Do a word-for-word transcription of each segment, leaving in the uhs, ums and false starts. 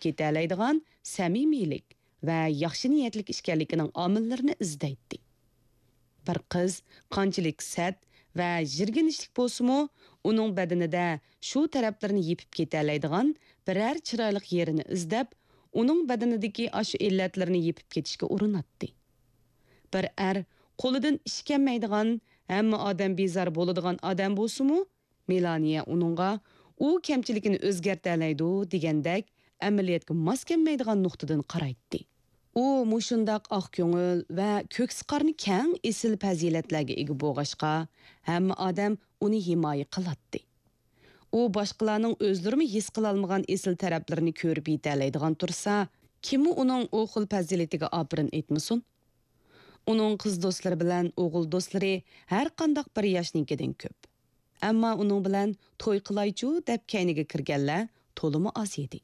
كېتەلەيدىغان سەمىمىيلىك ۋە ياخشى نىيەتلىك ئىكەنلىكىنىڭ ئامىللىرىنى ئىزدەيتتى. بىر قىز قانچىلىك سەت ۋە يىرگىنچلىك بولسىمۇ، ئۇنىڭ بەدىنىدە شۇ تەرەپلىرىنى يېپىپ كېتەلەيدىغان بىرەر چىرايلىق يېرىنى ئىزدەپ، ئۇنىڭ بەدىنىدىكى ئاشۇ ئىللەتلىرىنى يېپىپ كېتىشكە ئۇرۇناتتى. بىر ئەر قولىدىن ئىش كەلمەيدىغان، ھەممە ئادەم بىزار بولىدىغان ئادەم بولسىمۇ، مېلانىيە ئۇنىڭغا «ئۇ كەمچىلىكىنى ئۆزگەرتەلەيدۇ» دېگەندەك ئەمەلىيەتكە ماس كەلمەيدىغان نۇقتىدىن قارايتتى. ئۇ مۇشۇنداق ئاق كۆڭۈل ۋە كۆكسى قارنى كەڭ ئېسىل پەزىلەتلەرگە ئىگە بولغاچقا، ھەممە ئادەم ئۇنى ھىمايە قىلاتتى. ئۇ باشقىلارنىڭ ئۆزلىرىمۇ ھېس قىلالمىغان ئېسىل تەرەپلىرىنى كۆرۈپ يېتەلەيدىغان تۇرسا، كىممۇ ئۇنىڭ ئۇ خىل پەزىلىتىگە ئاپىرىن ئېيتمىسۇن؟ ئۇنىڭ قىز دوستلىرى بىلەن ئوغۇل دوستلىرى ھەر قانداق بىر ياشنىڭكىدىن كۆپ. ئەمما ئۇنىڭ بىلەن توي قىلايچۇ دەپ كەينىگە كىرگەنلەر تولىمۇ ئاز ئىدى.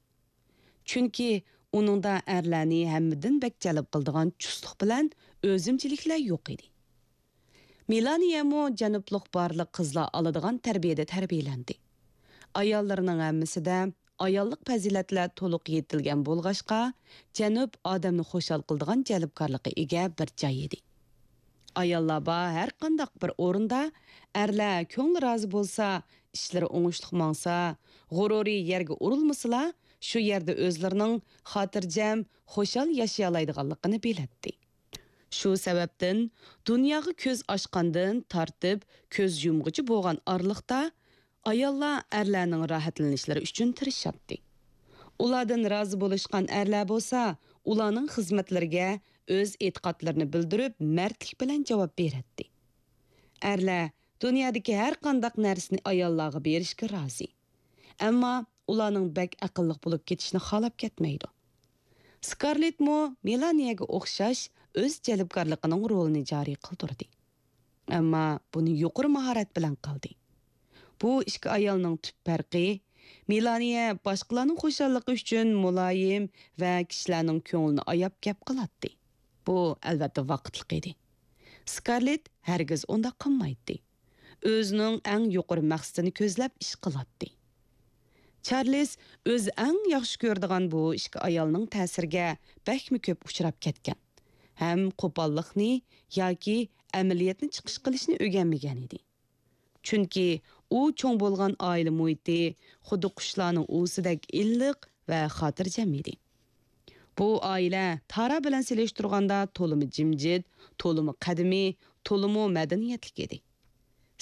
چۈنكى ئۇنىڭدا ئەرلەرنى ھەممىدىن بەك جەلپ قىلىدىغان چۇستلۇق بىلەن ئۆزۈمچىلىكلەر يوق ئىدى. مېلانىيەمۇ جەنۇبلۇق بارلىق قىزلار ئالىدىغان تەربىيەدە تەربىيەلەندى. ئاياللىرىنىڭ ھەممىسىدە ئاياللىق پەزىلەتلەر تولۇق يېتىلگەن بولغاچقا، جەنۇب ئادەمنى خۇشال قىلىدىغان جەلپكارلىققا ئىگە بىر جاي ئىدى. ئاياللار بار ھەر قانداق بىر ئورۇندا ئەرلەر كۆڭلى رازى بولسا، ئىشلىرى ئوڭۇشلۇق ماڭسا، غۇرۇرى يەرگە ئۇرۇلمىسىلا، شۇ يەردە ئۆزلىرىنىڭ خاتىرجەم، خۇشال ياشىيالايدىغانلىقىنى بىلەتتى. شۇ سەۋەبتىن دۇنياغا كۆز ئاچقاندىن تارتىپ كۆز يۇمغۇچە بولغان ئارىلىقتا ئاياللار ئەرلەرنىڭ راھەتلىنىشلىرى ئۈچۈن تىرىشاتتى. ئۇلاردىن رازى بولۇشقان ئەرلەر بولسا ئۇلارنىڭ خىزمەتلىرىگە ئۆز ئېتىقادلىرىنى بىلدۈرۈپ مەردلىك بىلەن جاۋاب بېرەتتى. ئەرلەر دۇنيادىكى ھەر قانداق نەرسىنى ئاياللارغا بېرىشكە رازى. ئەمما ئۇلارنىڭ بەك ئەقىللىق بولۇپ كېتىشىنى خالاپ كەتمەيدۇ. سكارلېتمۇ مېلانىيەگە ئوخشاش ئۆز جەلپكارلىقىنىڭ رولىنى جارى قىلدۇردى. ئەمما بۇنى يۇقىرى ماھارەت بىلەن قىلدى. بۇ ئىككى ئايالنىڭ تۈپ پەرقى، مېلانىيە باشقىلارنىڭ خۇشاللىقى ئۈچۈن مۇلايىم ۋە كىشىلەرنىڭ كۆڭلىنى ئاياپ گەپ قىلاتتى. بۇ ئەلۋەتتە ۋاقىتلىق ئىدى. سكارلېت ھەرگىز ئۇنداق قىلمايتتى. ئۆزىنىڭ ئەڭ يۇقىرى مەقسىتىنى كۆزلەپ ئىش قىلاتتى. چارلىز ئۆزى ئەڭ ياخشى كۆرىدىغان بۇ ئىككى ئايالنىڭ تەسىرىگە بەكمۇ كۆپ ئۇچراپ كەتكەن ھەم قوپاللىقنى ياكى ئەمەلىيەتنى چىقىش قىلىشنى ئۆگەنمىگەن ئىدى. چۈنكى ئۇ چوڭ بولغان ئائىلە مۇھىتى خۇددى قۇشلارنىڭ ئۇۋىسىدەك ئىللىق ۋە خاتىرجەم ئىدى. بۇ ئائىلە تارا بىلەن سېلىشتۇرغاندا تولىمۇ جىمجىت، تولىمۇ قەدىمىي، تولىمۇ مەدەنىيەتلىك ئىدى.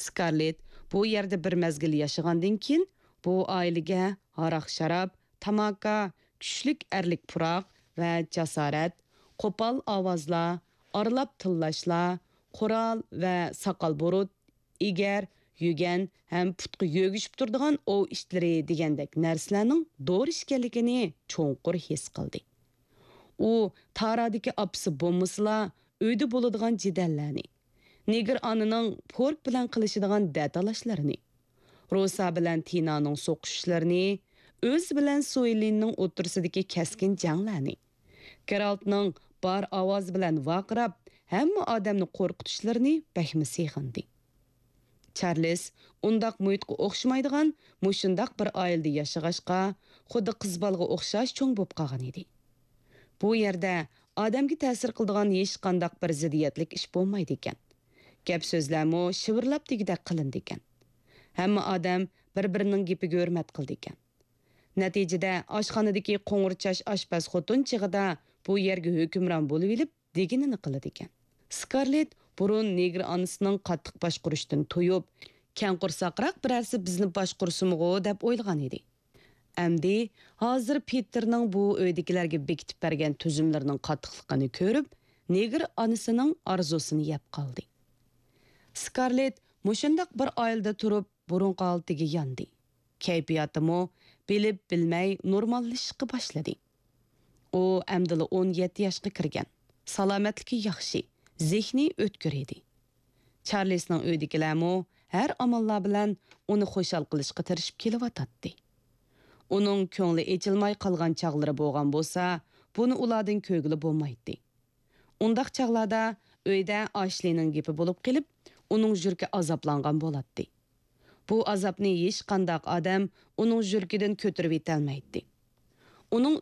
سكارلېت بۇ يەردە بىر مەزگىل ياشىغاندىن كېيىن، بۇ ئائىلىگە ھاراق-شاراب، تاماكا، كۈچلۈك ئەرلىك پۇراق ۋە جاسارەت، قوپال ئاۋازلار، ئارىلاپ تىللاشلار، قورال ۋە ساقال-بۇرۇت، ئېگەر، يۈگەن ھەم پۇتقا يۆگىشىپ تۇرىدىغان ئوۋ ئىتلىرى دېگەندەك نەرسىلەرنىڭ دورا ئىكەنلىكىنى چوڭقۇر ھېس قىلدى. ئۇ تارادىكى ئاپىسى بولمىسىلا، ئۆيدە بولىدىغان جېدەللەرنى، نېگىر ئانىنىڭ پورك بىلەن قىلىشىدىغان دەتالاشلىرىنى، روسا بىلەن تىنانىڭ سوقۇشۇشلىرىنى، ئۆزى بىلەن سۇيلىننىڭ ئوتتۇرىسىدىكى كەسكىن جەڭلەرنى، گېرالتنىڭ بار ئاۋازى بىلەن ۋارقىراپ، ھەممە ئادەمنى قورقۇتۇشلىرىنى بەكمۇ سېغىندى. چارلىز ئۇنداق مۇھىتقا ئوخشىمايدىغان مۇشۇنداق بىر ئائىلىدە ياشىغاچقا، خۇددى قىز بالىغا ئوخشاش چوڭ بولۇپ قالغان ئىدى. بۇ يەردە ئادەمگە تەسىر قىلىدىغان ھېچقانداق بىر زىددىيەتلىك ئىش بولمايدىكەن. گەپ-سۆزلەرمۇ شىۋىرلاپ دېگۈدەك قىلىنىدىكەن. ھەممە ئادەم بىر-بىرىنىڭ گېپىگە ھۆرمەت قىلىدىكەن. نەتىجىدە ئاشخانىدىكى قوڭۇر چاچ ئاشپەز خوتۇن چېغىدا بۇ يەرگە ھۆكۈمران بولۇۋېلىپ، دېگىنىنى قىلىدىكەن. سكارلېت بۇرۇن نېگىر ئانىسىنىڭ قاتتىق باشقۇرۇشىدىن تويۇپ، كەڭ قورساقراق بىرەرسى بىزنى باشقۇرسىمىغۇ دەپ ئويلىغان ئىدى. ئەمدى ھازىر پېتېرنىڭ بۇ ئۆيدىكىلەرگە بېكىتىپ بەرگەن تۈزۈملىرىنىڭ قاتتىقلىقىنى كۆرۈپ، نېگىر ئانىسىنىڭ ئارزۇسىنى يەپ قالدى. سكارلېت مۇشۇنداق بىر ئائىلىدە تۇرۇپ، بۇرۇنقى ھالىتىگە ياندى. كەيپىياتىمۇ بىلىپ بىلمەي نورماللىشىشقا باشلىدى. ئۇ ئەمدىلا ئون يەتتە ياشقا كىرگەن، سالامەتلىكى ياخشى، زېھنى ئۆتكۈر ئىدى. چارلىسنىڭ ئۆيىدىكىلەرمۇ ھەر ئاماللار بىلەن ئۇنى خۇشال قىلىشقا تىرىشىپ كېلىۋاتاتتى. ئۇنىڭ كۆڭلى ئېچىلماي قالغان چاغلىرى بولغان بولسا، بۇنى ئۇلاردىن كۆرگىلى بولمايتتى. ئۇنداق چاغلاردا ئۆيدە ئاشلىنىڭ گېپى بولۇپ قېلىپ، ئۇنىڭ يۈرىكى ئازابلانغان بولاتتى. بۇ ئازابنى ھېچقانداق ئادەم ئۇنىڭ يۈرىكىدىن كۆتۈرۈۋېتەلمەيتتى. ئۇنىڭ